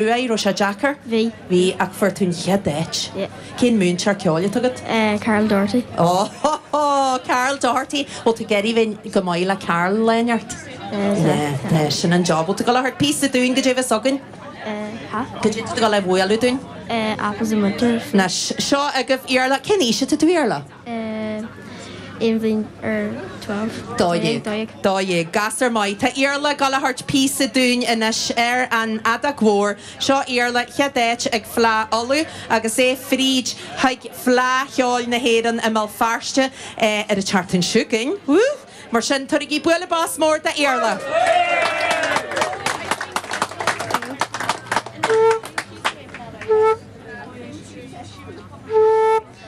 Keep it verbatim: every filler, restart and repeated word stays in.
Raibh sé deacair? Bhí. Bhí ach fuair tú an chéad áit. Yeah. Cén múinteoir ceoil atá agat? Uh, Carol Doherty. Oh, Carol Doherty Bhfuil tú ag éirí go maith le Carol léineart. Tá sin an job tú go le píosa dúinn go dtéh againn Ha? Go dtí go le bhuaú dúinn? Uh, Apples in Winter. Anois seo agaibh Iarla cén aois atá tú Iarla? Uh, aon bhliain ar twelve. Dó dhéag. Dó dhéag. Dó dhéag. Gasúr maith Tá Iarla ag gabháil a thabhairt píosa dúinn anois ar an fheadóg mhór. Seo Iarla chéad áit ag Fleadh Uladh agus é fríd chuig Fleadh Cheoil na hÉireann i mBéal Feirste ar an tseachtain seo chugainn. Mar sin tabhairigí bualadh bos mór d'Iarla.